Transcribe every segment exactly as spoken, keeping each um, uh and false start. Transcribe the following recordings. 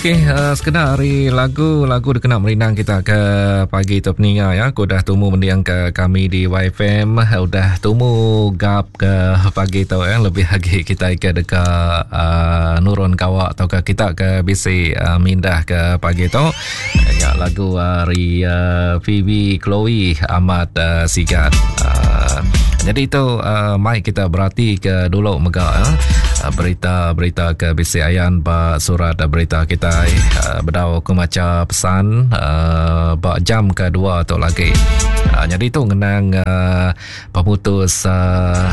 Okey, uh, sekeda hari lagu-lagu dikena merindang kita ke pagi tu peninga ya. Aku udah tumu mendiang ke kami di Y F M, udah tumu gap ke pagi tu ya. Lebih lagi kita ke dekat uh, nurun kawak atau ke kita ke bisi uh, mindah ke pagi tu. Ya, lagu hari uh, Phoebe Chloe Ahmad uh, Sigat. Uh, jadi itu uh, mai kita berarti ke dulu mega ya. Berita-berita ke bisi ayan ba surat berita kita uh, bedau aku maca pesan uh, ba jam kedua tu lagi. Uh, jadi tu ngenang uh, pemutus uh,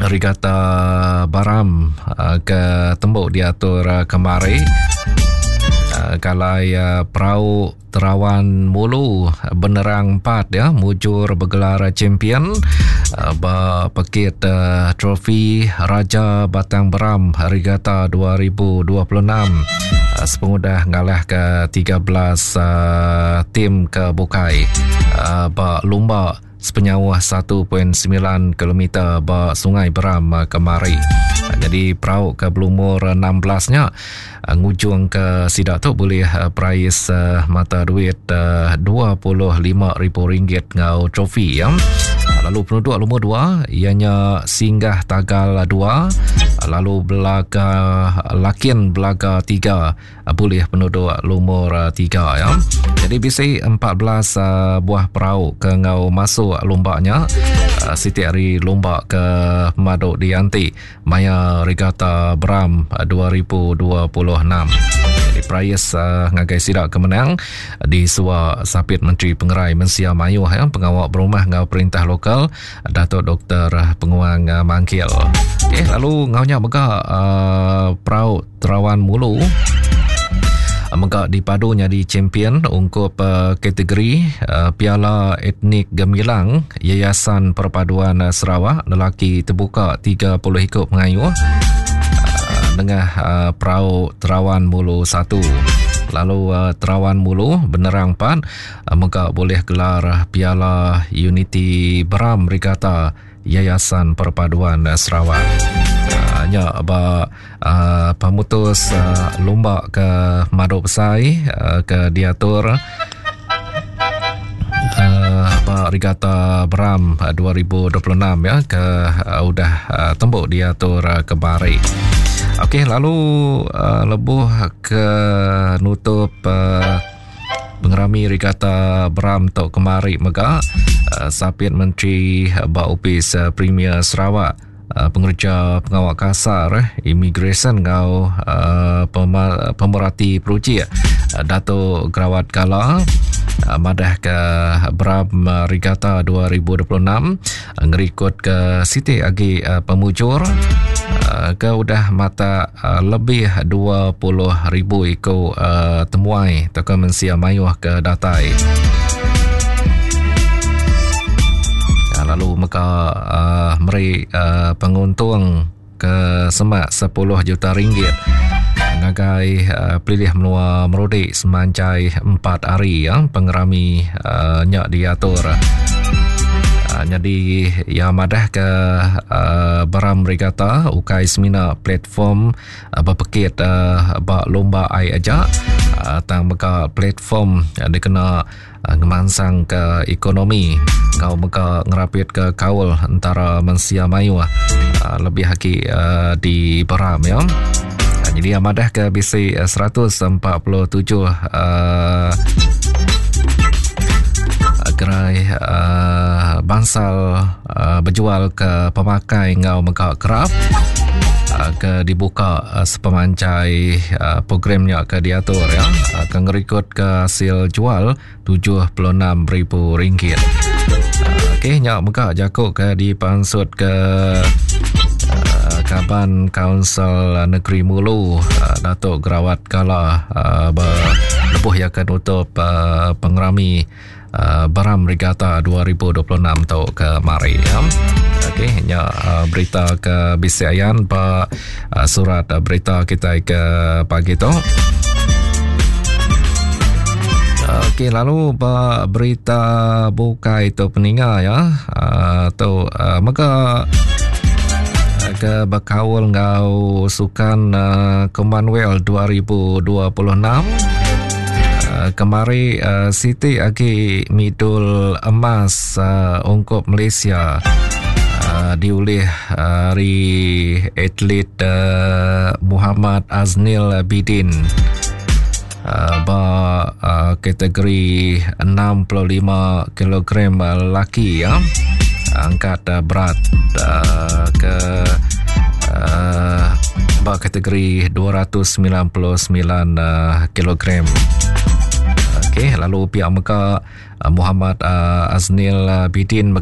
Regata Baram uh, ke tembok diatur uh, kemari. Uh, kalai uh, perahu Terawan Mulu Benerang empat ya mujur bergelar champion uh, ba pekit uh, trofi Raja Batang Beram Regata dua ribu dua puluh enam uh, sepengudah ngalah ke tiga belas uh, tim ke Bukai uh, ba lumba sepenyauh satu perpuluhan sembilan kilometer ba Sungai Beram uh, kemari. Uh, jadi perahu ke berumur enam belas nya uh, ngujung ke sidak tu boleh uh, prais uh, mata duit uh, dua puluh lima ribu ringgit ngau trofi ya. Lalu penduduk lumur dua ianya Singgah Tagal dua, lalu Belaga Lakin Belaga tiga boleh penduduk lumur tiga ya. Jadi bisi empat belas uh, buah perahu ke ngau masuk lombaknya. Uh, siti hari lomba ke Maduk Dianti Maya Regata Beram dua ribu dua puluh enam. Jadi prais uh, ngagai sidak kemenang di Sua Sapit Menteri Pengerai Mensia Mayuh ya, pengawal berumah ngau perintah lokal Datuk Doktor Penguang uh, Mangkil. Okey, lalu ngaunya mega uh, perahu Terawan Mulu mega dipadu jadi champion ungkup uh, kategori uh, Piala Etnik Gemilang Yayasan Perpaduan Sarawak lelaki terbuka tiga puluh ikut pengayuh uh, dengan uh, perahu Terawan Mulu satu. Lalu uh, Terawan Mulu Benerang empat uh, mega boleh gelar Piala Unity Beram Regata Yayasan Perpaduan Sarawak. Nya ba uh, pemutus uh, lomba ke Maduk Besai uh, ke diatur uh, ba Regata Beram dua ribu dua puluh enam ya ke uh, udah uh, tembok diatur uh, kemari. Okey, lalu uh, lebuh ke nutup uh, pengerami Regata Beram tok kemari mega uh, Sapit Menteri ba Opis uh, Premier Sarawak Uh, pengerja pengawal kasar eh, immigration ngau uh, pema- pemerhati peruji uh, Datuk Gerawat Gala uh, madah ke Beram uh, Regata dua ribu dua puluh enam uh, ngerikut ke Siti agi uh, pemujur uh, ke udah mata uh, lebih dua puluh ribu iko uh, temuai atau ke mensia mayuh ke datai. Lalu maka uh, meri uh, penguntung ke semak sepuluh juta ringgit ngagai uh, pelilih menua Merudik semanjai empat hari ya pengerami uh, nyak diatur. Uh, jadi ya madah ke uh, Beram Regata ukai semina platform uh, berpekit uh, bak lomba ai aja uh, tang mega platform uh, dikena uh, ngemansang ke ekonomi kau mega ngerapit ke kaul antara mensia mayuh uh, lebih lagi uh, di Beram ya. Uh, jadi madah ke bisi seratus empat puluh tujuh uh, gerai uh, bangsal uh, berjual ke pemakai ngau mega kerap uh, ke dibuka uh, sepemanjai uh, programnya ke diatur ya uh, ke ngerikut ke hasil jual tujuh puluh enam ribu ringgit. Uh, okey nyak mega jakuk ke dipansut ke uh, Kaban Kaunsil Negeri Mulu uh, Datuk Gerawat Gala uh, berlebuh ya ke nutup uh, pengerami Uh, Beram Regata dua ribu dua puluh enam tu ke mari ya. Okey, nya uh, berita ke bisi ayan ba uh, surat uh, berita kita ke pagi tu. Okey, lalu ba berita bukai tu peninga ya. Uh, tu uh, mega ke bekaul ngau sukan uh, Commonwealth dua ribu dua puluh enam. Uh, kemari uh, Siti agi midul emas uh, ungkup Malaysia uh, diulih hari uh, atlet uh, Muhammad Aznil Bidin uh, ba uh, kategori enam puluh lima kilogram lelaki ya. Angkat uh, berat uh, ke uh, ba kategori dua ratus sembilan puluh sembilan uh, kilogram. Okey, lalu pihak mega uh, Muhammad uh, Aznil Bidin mega